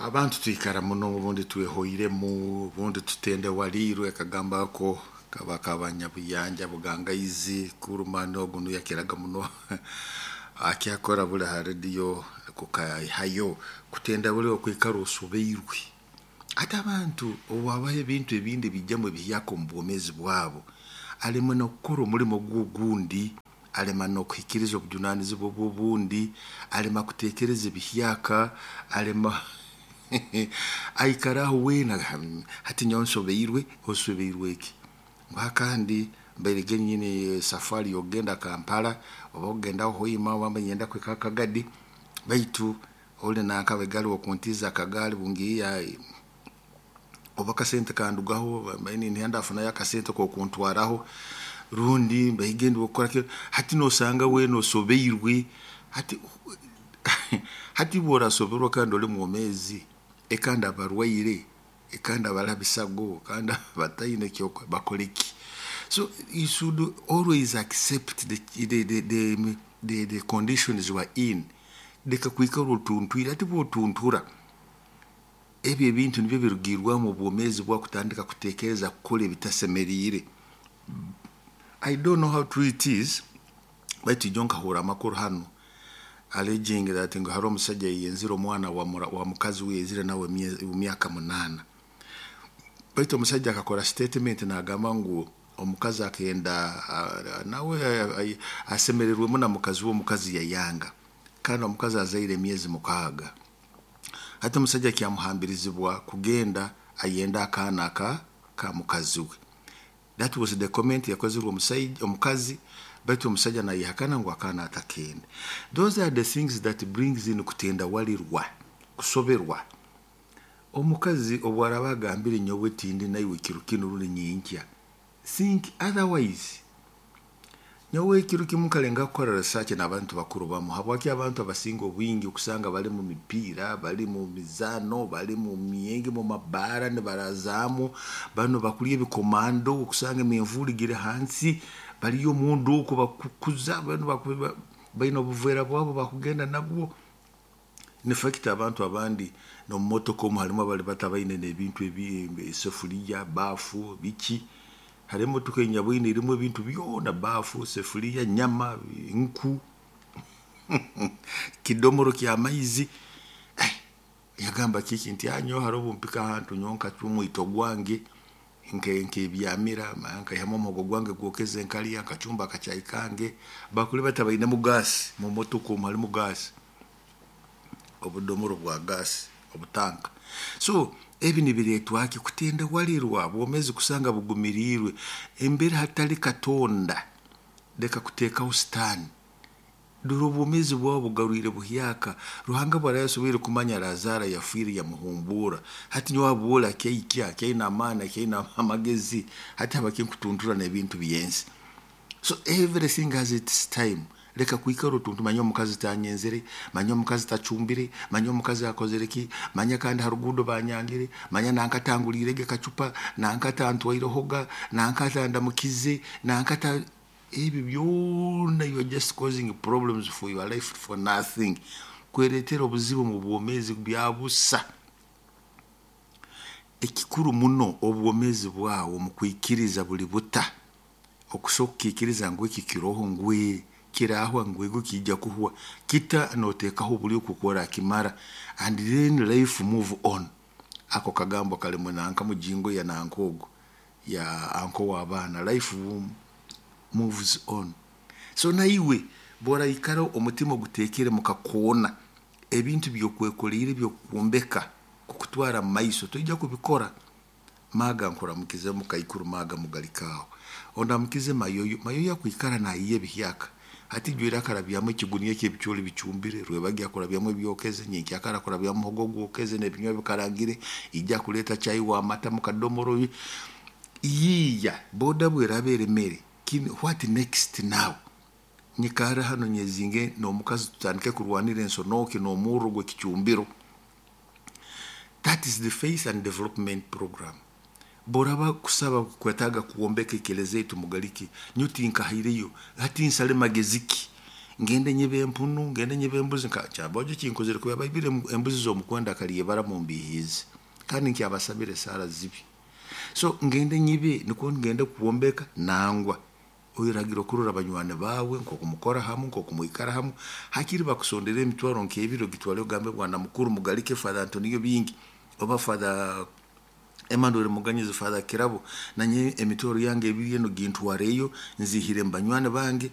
Abantu twikara muno, obundi twehoiremu, obundi tutendewaliirwe. Akagamba ako kaba kabanyabuyanja bugangaizi kurumani ogu nuyakiraga muno akyakora buli ha rediyo kukaihayo kutenda buli okwikara osobeirwe. Ate abantu obuhabaho ebintu ebindi bijjamu ebihyaka omu bwomeezi bwabo, alema n'okukora omulimo gwe ogundi, alema n'okuhikiriza obujunanizibwa bwe obundi, alema kuteekereza ebihyaka, alema aikara aho weena. Hati nyowe nsobeirwe. Osobeirwe ki? Ngu kandi mbaire nyine safari y'okugenda Kampala oba okugenda Hoima oba ninyenda kuhika Kagadi, baitu oli nankaba egaali okuntiiza akagaali bungiiya oba akasente kandugaho, mbaire ninyenda afunayo akasente k'okuntwaraho, rundi mbaire ndi wokukora ki. Hati nosanga weena osobeirwe. Hati bw'orasoberwa kandi oli mwomeezi, ekandi abarwaire, ekandi abali ha bisago, kandi abataine kyokora bakole ki? So you should always accept the conditions you are in. Leka kwikara otuntwire. Hati bw'otuntura, ebyo ebintu nibyo birugirwamu obwomeezi bwawe kutandika kuteekereza kukora ebitasemeriire. I don't know how true it is, baitu ijo nkahurra amakuru hanu alleging that ngu hariho omusaija yayenzire omwana wa mukazi we yaizire nawe emyaka 8. Baitu omusaija akakora statement nagamba ngu omukazi akenda nawe asemererwemu na mukazi we, omukazi yayanga. Kandi omukazi azaire emyezi 6. Hati omusaija kyamuhambirizibwa kugenda ayenda akaana aka ka mukazi we. That was the comment yakozirwe omusaija omukazi, baitu omusaija nayehakana ngu akaana atakenda. Those are the things that brings in kutendawalirwa, kusoberwa. Omukazi obwaraba agambire nyowe tindi naiwe kiro kinu rundi nyenkya, think otherwise. Nyowe ekiro kimu nkalenga kukora research n'abantu bakuru bamu, habwaki abantu abasinga obwingi okusanga bali mu mipiira, bali mu mizaano, bali mu myenge, mu mabaara nibarazaamu, banu bakulya ebikomando, okusanga emenvuuri giri hansi, baliyo omunda oku bakukuza, banu baine obuveera bwabo bakugenda nabwo. In fact abantu abandi n'omumotoka omu harimu abali batabaine n'ebintu esefuriya, baafu, biki. Hariho emotoka enyabwine erimu ebintu byona, baafu, sefuriya, nyama, nku, kidomoro ky'amaizi. Yagamba kiki nti nyowe hariho obu mpika ahantu nyowe nkacwa omwito gwange nkebyamira, nkaihamu omuhogo gwange gwokeze nkalya, nkacumba akacaayi kange. Bakuli batabainemu gaasi, mu motoka omu harimu gaasi, obudomoro bwa gaasi, obutanka. So ebi nibireetwa ki? Kutendewalirwa, obwomeezi kusanga bugumiriirwe. Embere hatali Katonda, leka kuteekaho sitaani. Dora obwomeezi bwawe bugarwire buhyaka. Ruhanga bwaraaba yasoboire kumanya Lazaro yafiire yamuhumbuura, hati nyowe habwooli akyaikya, akyaine amaani, akyaine amagezi, hati habaki nkutuntura n'ebintu by'ensi? So everything has its time. Leka kwikara otuntu, manya omukazi tanyenzere, manya omukazi tacumbire, manya omukazi akozere ki, manya kandi ha ruguudo banyangire, manya nanka tanguliirege kacupa, nanka tantwairehoga, nanka tandamukize, nanka ta ebyo byona, you are just causing problems for your life for nothing. Kwereetera obuzibu omu bwomeezi bya busa. Ekikuru muno, obwomeezi bwawe omu kwikiriza buli buta. Okusobola kukiikiriza ngu eki kiroho, ngu kirahwa, ngu ego kiija kuhwa, kita noteekaho obulyo nkooku orakimara, and then life move on. Ako kagambo kalimu nanka mujingo ya nanka ogu ya uncle w'abaana, life moves on. So naiwe bw'oraikara omutima oguteekere mu kakoona, ebintu by'okwekoliire by'okwombeka kukutwara mu maiso toija kubikora. Maaga nkuramukize mukaikuru, maaga mugalikaaho. Ondamukize Mayoyo, Mayoyo akwikara naayiiya ebihyaka. Hati ijwire akarabyamu ekiguniya ky'ebicooli bicumbire, rwebagyo akurabyamu ebyokeze, nyenkyakara akurabyamu muhogo gwokeze n'ebinywa bikarangire, ija akuleeta chai w'amata mu kadomoro. Yiiya boda bweraaba eremere, what next now? Nyikarre hanu nyezinge n'omukazi tutandike kurwanira ensonooki n'omurro gw'ekicumbiro? That is the faith and development program. Bw'oraba kusaba kwetaaga kwombeka ekelezia yaitu mugalike, nyowe tinkahaireyo, hati nsale magezi ki? Ngende nyibe empunu, ngende nyibe embuzi, nka Kyabagyo kinkozere kuba baibire embuzi z'omukwenda Kalyebara mumbihiize, kandi nkyabasabire esaara zibi. So ngende nyibe nukwo ngende kwombeka? Nangwa. Oyeragira okurora banywani baawe nk'oku mukora hamu, nk'oku mwikara hamu. Hakiri bakusondera emitwaro nk'ebiri, ogitwale ogambe, "Bwana mukuru, mugalike Father Antonio Bingi oba Father Emmanuel Muganyizi, Father Kirabo, nanye emitwaro yange ebiri eno gintwareyo, nzihire mu banywani bange."